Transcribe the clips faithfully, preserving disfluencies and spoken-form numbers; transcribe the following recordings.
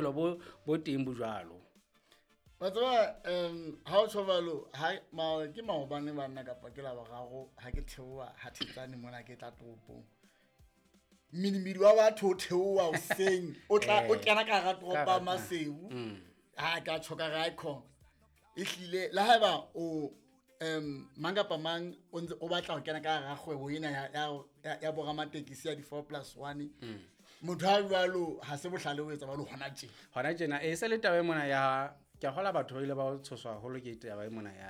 Bo bo teng bo jwalo. Wa tseba um ha o tjho jwalo, ha ma ke maobane banna kapa ke la boraro ha ke theoha ha Thetsane mona ke tla toropong. Mmidimidi wa batho o theoha hoseng, o tla o kena ka hara toropo ya Maseru. Ha ka tjho ka re icon. Ehlile le haeba o um mang kapa mang o ntse o batla ho kena ka hara kgwebo ena ya ya ya boramatekesi ya di four plus one. Motho ha jwalo ha se bohlale o etsa jwalo hona tjena. Hona tjena e se le taba e mona ya ke a kgola batho ba ile ba tshoswa haholo ke taba e mona ya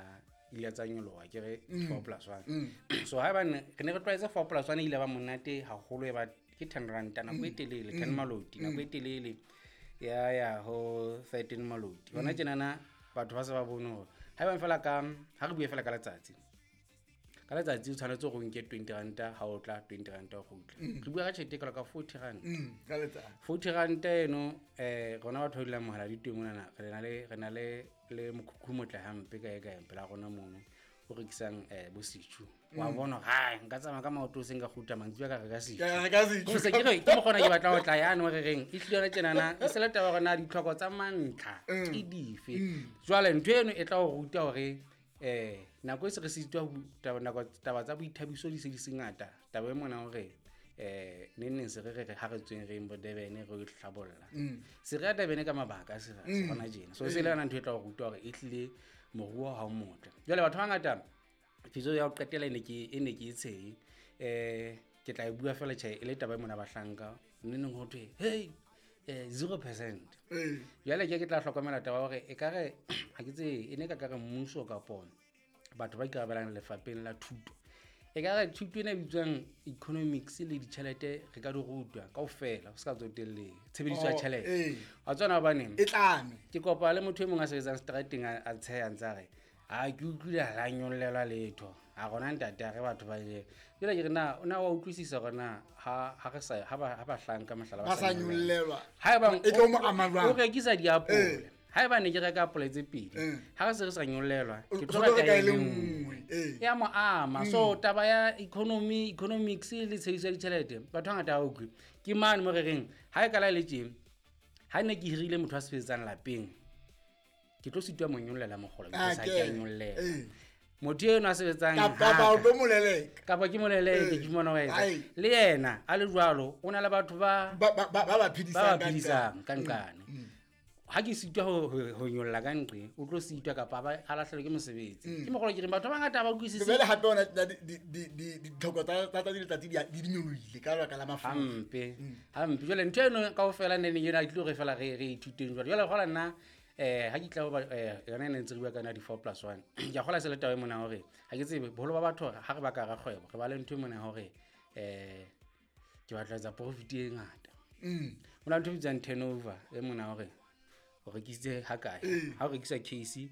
ile tsa nyoloha ke re four plus one. So haebane re ne re tlwaetse four plus one ile ba monate haholo e ba ke ten rand nako e telele, ten maloti nako e telele ya ya ho thirteen maloti. Hona tjena na batho ba se ba bone hore haebane fela ka ha re bue fela ka letsatsi. Ka letsatsi o tshwanetse hore o nke twenty rand ha o tla twenty rand o kgutla. Re bua ka tjhelete e kalo ka forty rand. Ka letsatsi. forty rand eno eh rona batho ba dulang mohala ditweng monana re na le re na le le mokhukhu motle hampe kae kae pela rona mono o rekisang eh bo setjhu. Wa bona ha nka tsamaya ka maoto o seng ka kgutla mantsibuya ka reka setjhu. Ka reka setjhu. Ko se ke re ke mokgona ke batla ho tla yane re reng e hlile yona tjenana e se le taba hore na ditlhoko tsa mantlha ke dife. Jwale ntho eno e tla o ruta hore eh nako e se re sitwa taba nako taba tsa boithabiso di se di se ngata. Taba e mona hore eh neng neng se re re ha re tsweng re bo Durban re o hlabolla. Se re ya Durban ka mabaka se re se hona tjena. So se le yona ntho e tla o ruta hore e hlile moruo ha o motle. Jwale batho ba bangata phiso ya ho qetela e ne ke e ne ke e tshehe. Eh ke tla e bua fela tjhe e le taba e mona bahlanka neng neng ho thwe hey eh zero percent. Jwale ke ke tla hlokomela taba hore e ka re ha ke tsebe e ne ka ka re mmuso kapa batho ba ikarabelang lefapheng la thuto. E ka re thuto ena e bitswang economics le ditjhelete re ka di rutwa kaofela ho se ka tsotelle tshebediso ya tjhelete. Wa tsona hobaneng? E tlame. Ke kopa le motho e mong a sebetsang strateng a tsheha ntse a re ha ke utlwile ha nyollelwa letho. Ha rona ntate a re batho ba ile. Jwale ke re na o na wa utlwisisa hore na ha ha re sa ha ba ha bahlanka mohlala ba sa nyollelwa. Haeba e tlo mo ama jwang? O rekisa diapole. Haeba ne ke reka apole tse pedi, ha re se re sa nyollelwa, ke tlo reka e le nngwe. Ya mo ama. So taba ya economy, economics le tshebediso ya ditjhelete, batho ba ngata ha utlwe. Ke mane mo re reng ha e ka la le tje, ha ne ke hirile motho a sebetsang lapeng, ke tlo sitwa mo nyollela mogolo, ke sa ke nyollela. Motho eno a sebetsang kapa o tlo moleleka. Kapa ke moleleke ke mona wa etsa. Le yena a le jwalo o na le batho ba ba ba ba phedisang ka nqane. Ha ke sitwa ho ho nyolla ka nqe, o tlo sitwa kapa ba a lahlelwe ke mosebetsi. Ke mogolo ke reng batho ba bangata ba utlwisise. Jwale hape ona di di di ditlhoko tsa tsa letsatsi di di nyolohile ka lebaka la mafura. Hampe. Hampe. Jwale ntho eno kaofela ne neng ena ke tlo re fela re re ithuteng jwale. Jwale kgola nna eh ha ke tla ba eh yona e ne ntse re bua ka yona di four plus one. Ke a kgola se le taba e mona hore ha ke tsebe boholo ba batho ha re ba ka ra kgwebo re ba le ntho e mona hore eh ke batla etsa profit e ngata. Mona ntho e bitswang turnover e mona hore o rekisitse ha kae ha o rekisa case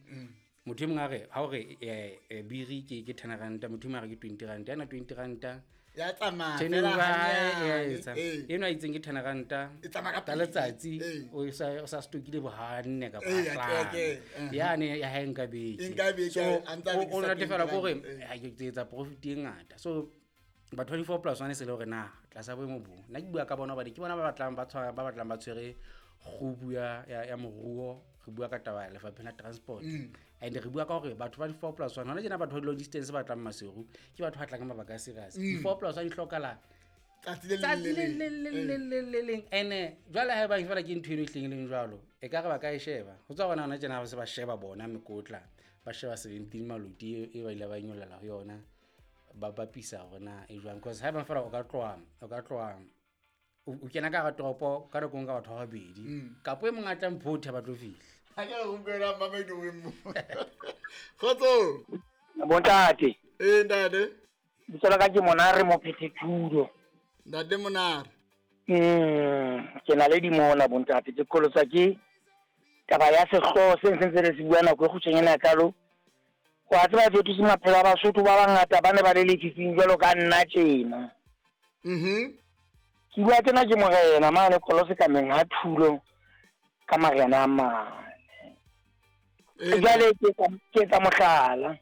motho e mong a re ha o re eh biri ke ke ten rand motho e mong a re ke twenty rand yana twenty rand ya tsamaya fela hanyane eno a itseng ke ten rand e tsamaya ka letsatsi o sa o sa stokile bo hanne kapa hlano yane ya ha nka beke nka beke a ntsa o natefela ko re ha ke etsa profit e ngata. So batho ba di-four plus one se le hore na tlasa boemo bo nna ke bua ka bona hobane ke bona ba batlang ba tshwara ba batlang ba tshwere kgubu ya ya moruo. Re bua ka taba ya lefapheng la transport and re bua ka hore batho ba di-four plus one hona tjena batho ba long distance ba tlang Maseru ke batho ba tlang ka mabaka a serious. Di-four plus one di hlokala tsatsi le le le le leng ene jwale ha eba fela ke ntho eno e hleng leng jwalo e ka re ba ka e sheba ho tswa bona hona tjena ha ba se ba sheba bona mekotla ba sheba seventeen maloti e ba ile ba nyollela ho yona ba bapisa hore na e jwang because ha eba fela o ka tloha o ka tloha o kena ka hara toropo ka nako nka batho ba babedi kapo e mong a tlang photha ba tlo fihla. Ha ke re utlwela mamedi o mo. Kgotso. Bontate. Eh ntate. Bitso la ka ke Monare Mophethethudo. Ntate Monare. Mm, ke na le dimona bontate ke kolotsa ke taba ya sehlooho se ntse re se bua nako e kgutshwanyane kalo. Wa tseba fetose maphelo a Basotho ba bangata ba ne ba le lefifing jwalo ka nna tjena. Mhm. Ke bua tjena ke morena mane Kolose ka meng ha Thulo ka marena a mane. Jwale ke ke tsa mohlala.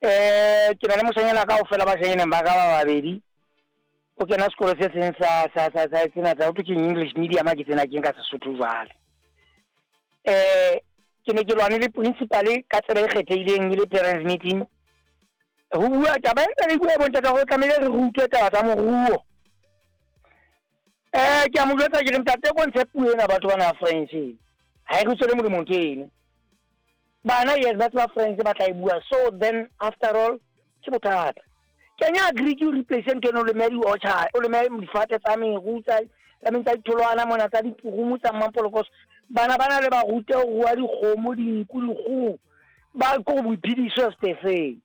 Eh ke na le moshanyana kaofela ba shenyeneng ba ka ba babedi. O kena sekolo se seng sa sa sa sa sena tsa ho thwe ke English medium ha ke tsena ke nka Sesotho jwale. Eh ke ne ke lwane le principal ka tsela e kgethehileng e le parents meeting. Ho bua taba e re bua bontate hore tlamehile re rutwe taba tsa moruo. Eh ke a mo jwetsa ke re ntate ko ntshe puo ena batho bana French. Ha e re tswele molemo ntho eno. Bana yes ba tseba French ba tla e bua, so then after all ke bothata. Kenya agree ke replace ntho eno le medi orchard o le medi difate tsa meru tsa tsa tsa ditholwana mona tsa dipurumu tsa Mampolokos. Bana bana le ba rute ho rua dikgomo dinku dikgoho ba ko boiphediso stefeng.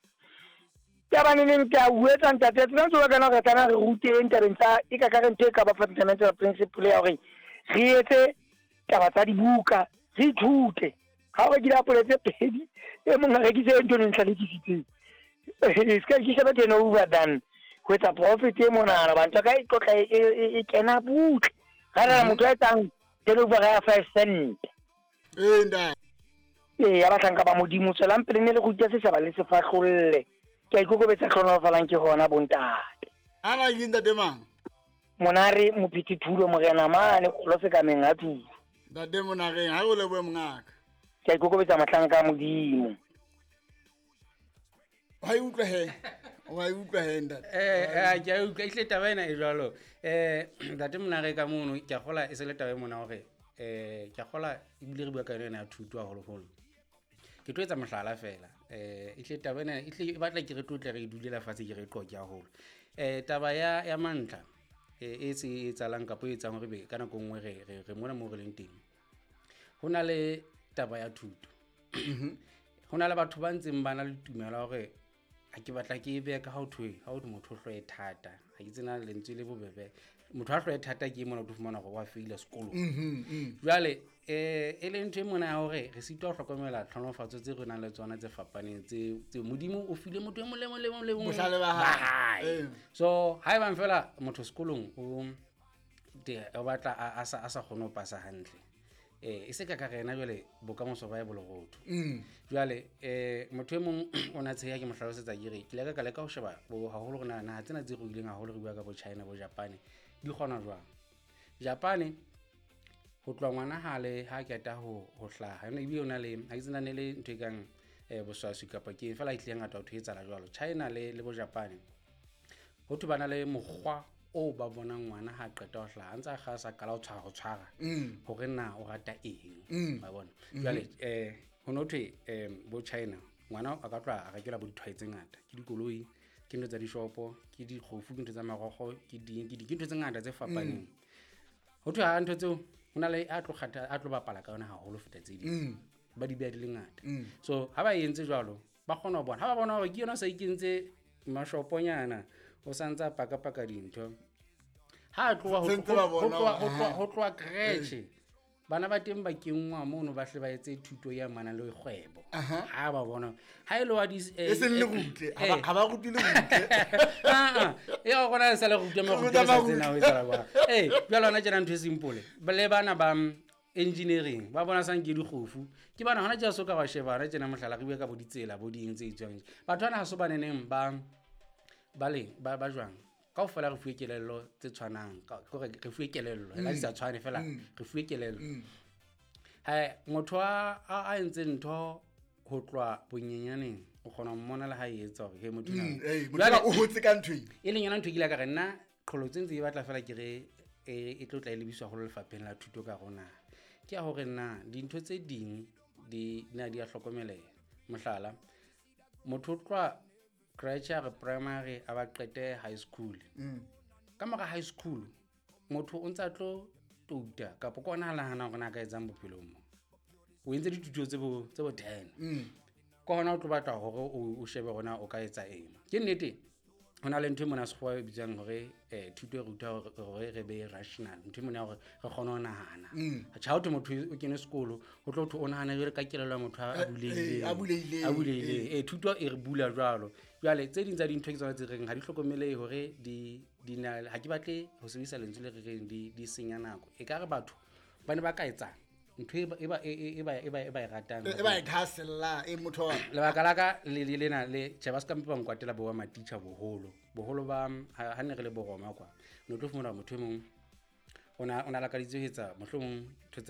Ke ba neng ke a uetsa ntate tsena tsola kana re tla re ruteng tabeng tsa e ka ka re ntho e ka ba fundamental principle ya hore re etse taba tsa dibuka re ithute. Ha o rekile apole tse pedi e mong a rekise ntho e ntlhalekisitseng. E ska ke sheba tena over than ho etsa profit e monana bantho ka e tlotla e kena butle. Ga re motho a etsang turnover ya five cent. Eh nda. Eh ya batlanka ba Modimo tswelang pele ne le go itse setjhaba le se fahlolle. Ke a ikokobetsa hlonolofalang ke hona bontate. Ana ke ntate mang? Monare Mophithi Thulo morena mane kgolo sekameng a Thulo. Ntate Monareng ha o lebohe mongaka. Ke a ikokobetsa mohlanka a Modimo. Wa e utlwa he. Wa e utlwa he ntate. Eh eh ke a utlwa ehle taba ena e jwalo. Eh ntate Monare ka mono ke a kgola e se le taba e mona hore eh ke a kgola ebile re bua ka yona ya thuto haholoholo. Ke tlo etsa mohlala fela. Eh ehle taba ena ehle e batla ke re tlotle re dulela fatshe ke re qoke haholo. Eh taba ya ya mantla e se e etsahalang kapa e etsang hore be ka nako nngwe re re re mona mo re leng teng. Ho na le taba ya thuto. Ho na le batho ba ntseng ba na le tumelo ya hore ha ke batla ke e behe ka ha ho thwe ha ho motho o hloe thata. Ha ke tsena lentswe le bobebe. Motho a hloe thata ke mona o tlo fumana hore wa feila sekolong. Jwale eh e le ntho e mona ya hore re sitwa ho hlokomela tlhonolofatso tse re nang le tsona tse fapaneng tse tse Modimo o file motho e mong le mong le mong le mong Bohlale ba hae. So ha ebang fela motho sekolong o de o batla a sa a sa kgone ho pasa hantle. Eh e se ka ka rena jwale bokamoso ba e bolorotho. Jwale eh motho e mong o na tsheya ke mo hlalosetsa ke re ke ile ka leka ho sheba bo haholo rena naha tsena tse ruileng haholo re bua ka bo China bo Japan di kgona jwang. Japan ho tloha ngwana hale ha qeta ho ho hlaha ene ebile o na le ha ke tsena ne le ntho e kang eh boswaswi kapa ke fela e tlile ngata ho etsahala jwalo. China le le bo Japan ho thwe bana le mokgwa o ba bonang ngwana ha qeta ho hlaha ntsa kga sa qala ho tshwara ho tshwara hore na o rata eng ba bona. Jwale eh ho no thwe eh bo China ngwana a ka tloha a rekelwa bo dithwae tse ngata ke dikoloi ke ntho tsa dishopo ke dikgofu ke ntho tsa marogo ke ding ke di ke ntho tse ngata tse fapaneng. Ho thwe ha ntho tseo ho na le a tlo kgatha a tlo bapala ka yona haholo feta tse ding ba di beha di le ngata. So ha ba entse jwalo ba kgona ho bona ha ba bona hore ke yona sa ikentse mashoponyana o santsa paka paka dintho ha tloha ho tloha ho tloha creche bana ba teng ba kenngwa mono ba hle ba etse thuto ya mana le kgwebo ha ba bona ha ile wa di e seng le rutle ha ba rutile rutle ah e go gona sa le rutwe mo rutwe sa tsena ho etsa ba eh jwale hona tjena ntho e simple le bana ba engineering ba bona sang ke dikgofu ke bana hona tjena so ka ba sheba hona tjena mohlala re bua ka bo ditsela bo ding tse itswang batho bana ha so baneneng ba ba le ba ba jwang kaofela re fuwe kelello tse tshwanang kore re fuwe kelello la di sa tshwane fela re fuwe kelello. Ha motho a a entse ntho ho tloha bonyenyaneng o kgona ho mmona le ha e etsa hore he motho na o hotse ka ntho e leng yona ntho ke ile ka re nna qholotso ntse e batla fela ke re e tlo tla e lebiswa ho lefapheng la thuto ka rona ke ya hore na dintho tse ding di na di a hlokomeleha. Mohlala motho o tloha creche re primary a ba qete high school. Ka mora high school motho o ntsa tlo touta kapa ke ona a nahana hore na ka etsang bophelong mo. O entse dithuto tse bo tse bo ten. Ke hona o tlo batla hore o shebe hore na o ka etsa eng. Ke nnete ho na le ntho e mona sekgowa e bitswang hore eh thuto e ruta hore re be rational. Ntho e mona hore re kgone ho nahana. Tjha ho thwe motho o kene sekolo ho tlo thwe o nahana jwale ka kelello ya motho a bulehileng. A bulehileng. A bulehileng. Eh thuto e re bula jwalo. Jwale tse ding tsa dintho ke tsona tse reng ha di hlokomelehe hore di di na ha ke batle ho sebedisa lentswe le re reng di di senya nako. E ka re batho ba ne ba ka etsang ntho e ba- e ba e- e- e ba- e ba e ba e ratang E ba e thahasella e motho wa- lebaka la ka le le lena le tjhe ba se ka mpe ba nkwatela bo ba matitjha boholo boholo ba ha ha ne re le boroma kwa ne o tlo fumana hore motho e mong o na o na lakaditse ho etsa mohlomong ntho tsa